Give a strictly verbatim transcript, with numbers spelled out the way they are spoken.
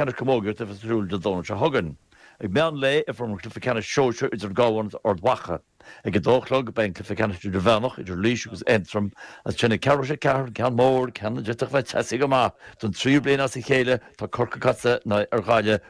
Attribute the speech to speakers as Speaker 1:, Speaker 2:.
Speaker 1: Ceannais Camógaíochta a bheas ar siúl Dé Domhnaigh seo chugainn. Ag meán lae imreofar an cluiche ceannais sóisir idir an Cabhán agus Ard Mhacha. Ag a dó a chlog beidh an cluiche ceannais idirmheánach idir Laois agus Aontroim agus ansin ag ceathrú tar éis a ceathair an ceann mór, ceann a d'fhéadfadh bheith teasaí go maith don tríú bliain as a chéile tá Corcaigh ag casadh ar Ghaillimh.